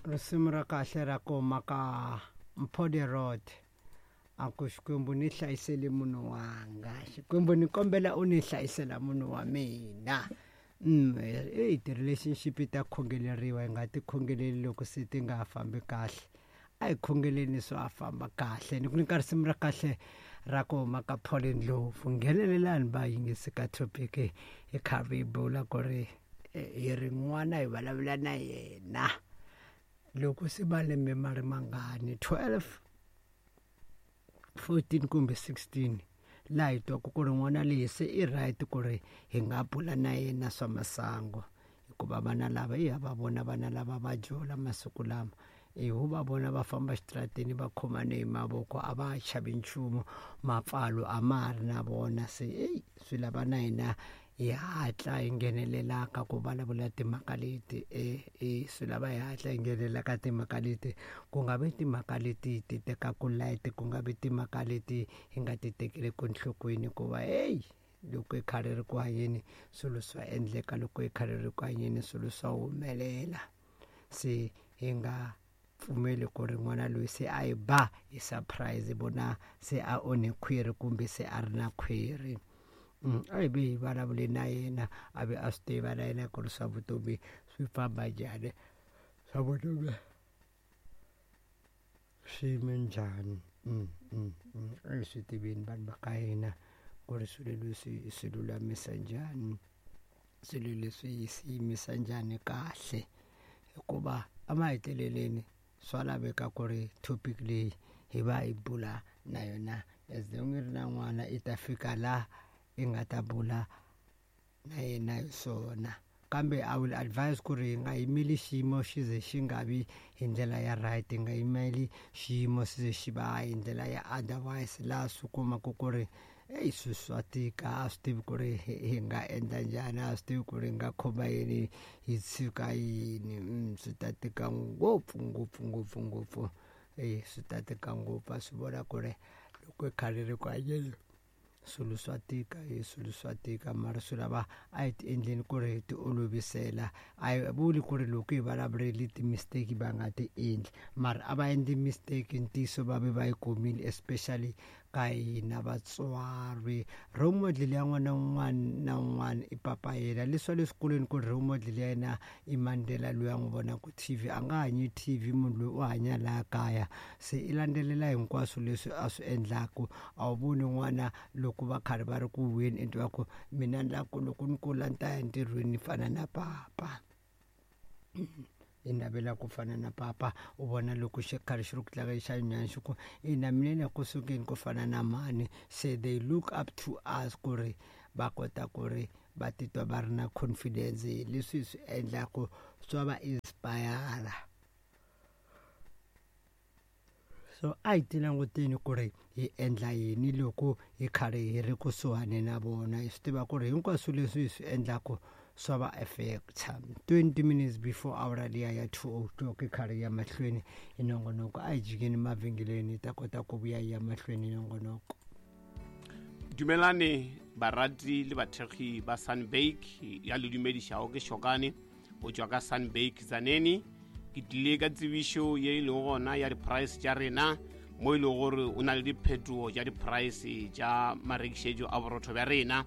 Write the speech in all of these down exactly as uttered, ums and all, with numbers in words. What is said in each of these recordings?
Risimu ra kahle ra ku huma ka Mphode Road a ku Xikwembu ni hlayisele munhu wanga, Xikwembu ni kombela u ni hlayisela munhu wa mina. Mm, eyi ti-relationship ta khongeleriwa, hi nga ti khongeleli loko se ti nga fambi kahle, a hi khongeleni swa famba kahle. Ni ku nyika risimu ra kahle ra ku huma ka Paul Ndlovu. Nghenelelani va yingisi ka topic hi karhi hi bula ku ri hi ri n'wana hi vulavula na yena loko se malembe ma ri mangani, twelve, fourteen kumbe sixteen, laha hi twaku ku ri n'wana leyi se i right ku ri hi nga bula na yena swa masangu, hikuva vana lava i ha va vona vana lava va jola masiku lama, i hu va vona va famba xitarateni va khomane hi mavoko, a va chavi nchumu, mapfalo a ma ha ri na vona. Se eyi swi lava na hina hi hatla hi nghenelela ka ku vulavula timhaka leti, e e swi lava hi hatla hi nghenelela ka timhaka leti, ku nga vi timhaka leti ti tekaku light, ku nga vi timhaka leti hi nga ti tekeleku enhlokweni, hikuva heyi loko hi khale ri ku hanyeni swilo swa endleka, loko hi khale ri ku hanyeni swilo swa humelela. Se hi nga pfumeli ku ri n'wana loyi se a hi ba hi surprise vona se a onhe khwiri kumbe se a ri na khwiri. Mm, a hi ve hi vulavule na yena, a ve a swi tiva na yena ku ri swa vutomi swi famba njhani, swa vutomi swi yime njhani. Mm, mm, mm. A hi swi tiveni vanhu va ka hina ku ri swilo leswi hi swi lulamisa njhani, swilo leswi hi swi yimisa njhani kahle, hikuva emaheteleleni swa laveka ku ri topic leyi hi va hi bula na yona as long i ri na n'wana i ta fika laha i nga ta bula na yena hi swona. Kambe I will advise ku ri hi nga yimeli xiyimo xi ze xi nga vi hi ndlela ya right, hi nga yimeli xiyimo xi ze xi va hi ndlela ya otherwise, laha swi kumaka ku ri eyi swilo swa tika, a swi tivi ku ri hi nga endla njhani, a swi tivi ku ri hi nga khoma yini hi tshika yini. Mm, swi ta tika ngopfu ngopfu ngopfu ngopfu, e swi ta tika ngopfu. A swi vona ku ri loko hi khale ri ku hanyeni swilo swa tika, hi swilo swa tika, mara swi lava a hi ti endleni ku ri hi ti olovisela. A hi vuli ku ri loko hi vulavureli ti-mistake va nga ti endli, mara a va endli mistake ntiyiso va ve va yi kumile, especially ka hina vatswari. Role model ya n'wana un'wana na un'wana i papa yena. Leswi swa le swikolweni ku ri role model ya yena i Mandela loyi a n'wi vonaka T V, a nga hanyi T V munhu loyi u hanya laha kaya, se i landzelela hinkwaswo leswi a swi endlaku. A wu voni n'wana loko va karhi va ri ku vuyeni i twa ku mina ni lava ku loko ni kula ni ta ya entirhweni ni fana na papa, i navela ku fana na papa. U vona loko xi karhi xi ri ku tlanga xa nyana xi ku ina mina ni ya ku sukeni ku fana na mhani. Se they look up to us ku ri va kota ku ri va titwa va ri na confidence hi leswi hi swi endlaku swa va inspire. So a hi ti languteni ku ri hi endla yini loko hi karhi hi ri kusuhani na vona, hi swi tiva ku ri hinkwaswo leswi hi swi endlaku swa va affecta. Twenty minutes before hour liya ya two o'clock hi karhi ya mahlweni hi nongonoko, a hi jikeni mavhengeleni hi ta kota ku vuya hi ya mahlweni hi nongonoko. Dumelane barati le bathekgi ba Sunbake ya le dumedišago ke Shokane go tšwa ka Sunbake Tzaneen. Ke tlile ka tsebišo ye e lego gona ya di-price tša rena, mo e lego gore o na le diphetogo tša di-price tša marekišetšo a borotho bja rena.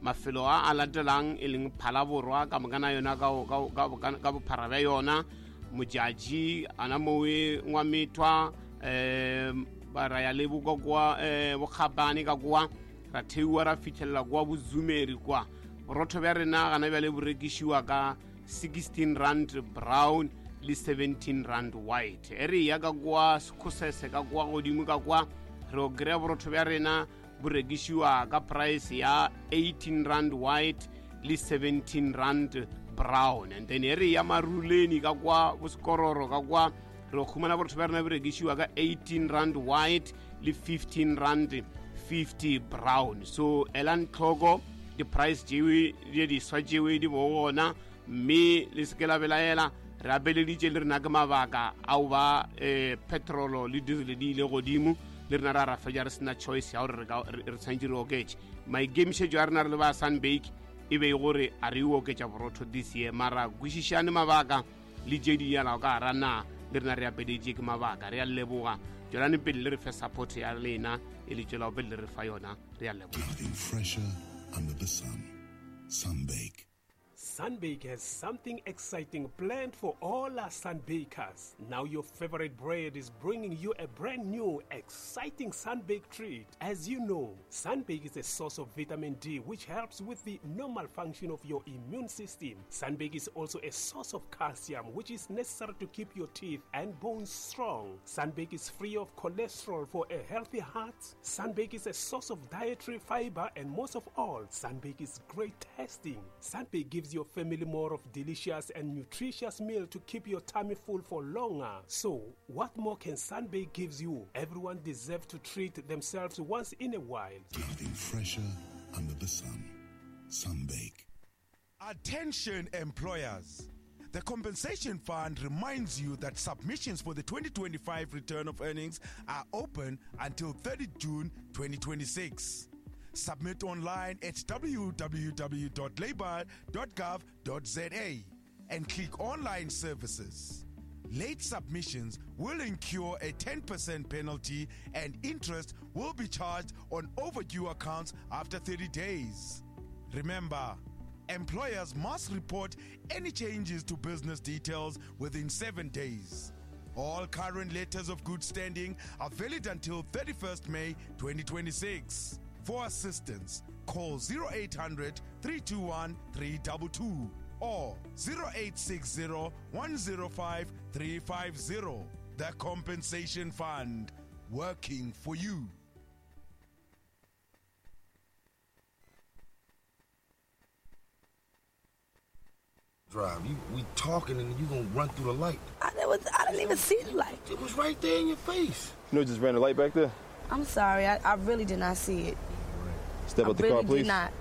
Mafelo a a latelang e leng Phalaborwa ka moka na yona ka bophara bja yona, Modjadji ana mowe Ngwamethwa, um ba ra ya le boka kwa um Bokgabane ka kwa, ra theiwa ra fitlhelela kwa Bozumeri kwa. Borotho bja rena gana bjale bo rekišiwa ka sixteen rand brown le seventeen rand white. E re ya ka kwa Sekhosese ka kwa godimo ka kwa, re o kry-a borotho bja rena bo rekišiwa ka price ya eighteen rand white le seventeen rand brown. And then e re ya Maruleni ka kwa Bosekororo ka kwa, re khumana borotho bja rena bo rekišiwa ka eighteen rand white le fifteen rand fifty brown. So elang tlhoko di-price tšewe di diswa tšewe di bo gona, mme le se ke la belaela. Re abeleditše le rena ke mabaka ao ba um petrolo le diesel di ile godimo, le rena ra ra fetša re sena choice ya gore re tshwanetse re oketše. Maikemišetšo a rena re le ba Sunbake e be e gore a re e oketša borotho this year, mara kwešišane mabaka le tše di yalago ka gara naga. Le rena re apeditše ke mabaka. Re a leboga. Tšwelane pele le re fe support ya lena e le tšwelago pele le re fa yona. Re a leboga. Nothing fresher under the sun. Sunbake. Sunbake has something exciting planned for all our Sunbakers. Now your favorite bread is bringing you a brand new, exciting Sunbake treat. As you know, Sunbake is a source of vitamin D, which helps with the normal function of your immune system. Sunbake is also a source of calcium, which is necessary to keep your teeth and bones strong. Sunbake is free of cholesterol for a healthy heart. Sunbake is a source of dietary fiber, and most of all, Sunbake is great tasting. Sunbake gives your family more of delicious and nutritious meal to keep your tummy full for longer. So, what more can Sunbake gives you? Everyone deserves to treat themselves once in a while. Nothing fresher under the sun. Sunbake. Attention employers. The Compensation Fund reminds you that submissions for the twenty twenty-five return of earnings are open until thirtieth June twenty twenty-six. Submit online at w w w dot labour dot gov dot z a and click Online Services. Late submissions will incur a ten percent penalty and interest will be charged on overdue accounts after thirty days. Remember, employers must report any changes to business details within seven days. All current letters of good standing are valid until thirty-first May twenty twenty-six. For assistance, call zero eight hundred, three two one, three two two or zero eight six zero, one zero five, three five zero. The Compensation Fund, working for you. Drive. You, we talking and you gonna run through the light. I, was, I didn't even see the light. It was right there in your face. You know, just ran the light back there? I'm sorry, I, I really did not see it. Step I out the really car, please. Did not.